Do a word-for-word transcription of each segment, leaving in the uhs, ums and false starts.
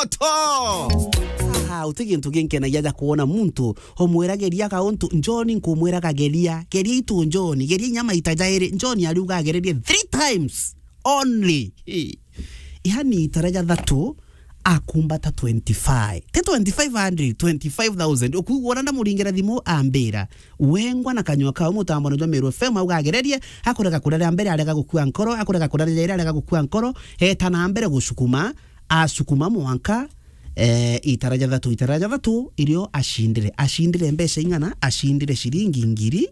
Oto! Aha, uti gintu ginkenagia ja kwona muntu, omwira geria kauntu, John nkumwira kageria, geria itu John, geria inya maita jairi, John ariuga agererie three times only. Hey. Yani itara ja thatu, akumbata twenty-five. Ti twenty-five hundred, twenty-five thousand. Ukuigua ura ndamuringira thimu ambira, wengwa na kanyua kao mutambone jwa Meru F M, auga agererie, akurega kureria mbere, arega gukua nkoro, akurega kureria jairi, arega gukua nkoro, eta na mbere gucukuma, acukuma mwanka, eh, itara ja thatu, itara ja thatu, irio acindire. Acindire mbeca ing'ana? Acindire ciringi ngiri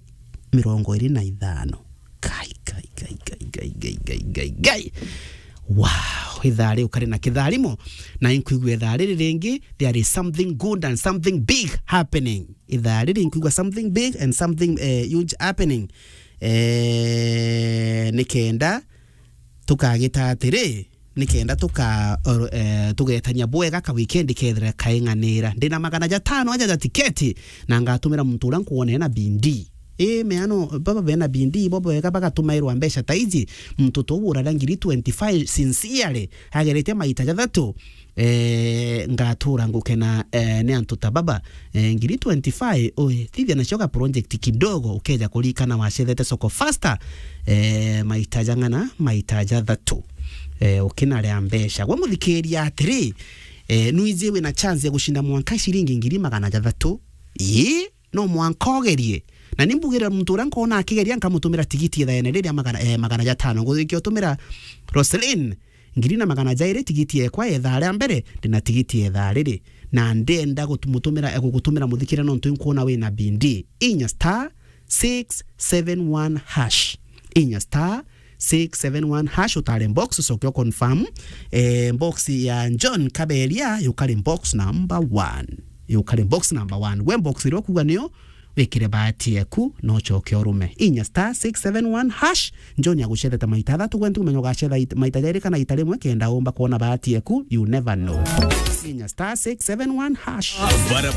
mirongo iri na ithano. Kai, kai, kai. Wow, ithaa riu kari na kitharimo, na inkwigua ithaa riri ringi, there is something good and something big happening. Ithaa riri inkwigua something big and something, eh, huge happening. Eh, nikenda tukagita atiri, nikenda tuka-, or-, eh, tugetania bwega ka weekend kethira kaing'anira. Ndina magana jatano aja ja tiketi, na ngatumira muntu uria nkwona ena bindi. Ii, meano, baba bena bindi, bo bwega bagatumairwa mbeca ta iji, muntu tu uraria ngiri twenty-five sincerely, agerete maita jathatu, eh, ngatura ngukena, eh, ni antu ta baba, eh, ngiri twenty-five, oi, thithia nacio ga project kidogo, ukeja kurikana wacethete soko faster, eh, maita jang'ana, maita jathatu, eh, ukinarea mbeca. Gwe muthikiria atiri, eh, nwiji wina chance ya gucinda mwanka ciringi ngiri magana jathatu? Ii, no mwanka ugerie. Na ni mbugire muntu uria nkona akigeria, nkamutumira tigiti ithaene riria magana, eh, magana jatano. Nguthikia utumira Roselyn ngiri na magana jairi tigiti ekwa ya ithaa ria mbere, ndina tigiti ya ithaa riri. Na ndenda gutu-, mutumira, eh, gugutumira muthikire nontu inkwona wina bindi. Inya star six seven one hash. Inya star six seven one hash, utare box, ucoke u confirm. Eh, box ya John Kaberia, yukari box number one. Yukari box number one. Gwe box iria ukuga niyo, wikire bahati eku, na ucoke urume. Inya star six seven one hash, John agucethete maita athatu, gwe ntikumenya ugacetha it-, maita jairi kana ita rimwe, kenda umba kwona bahati eku, you never know. Inya star six seven one hash. Bara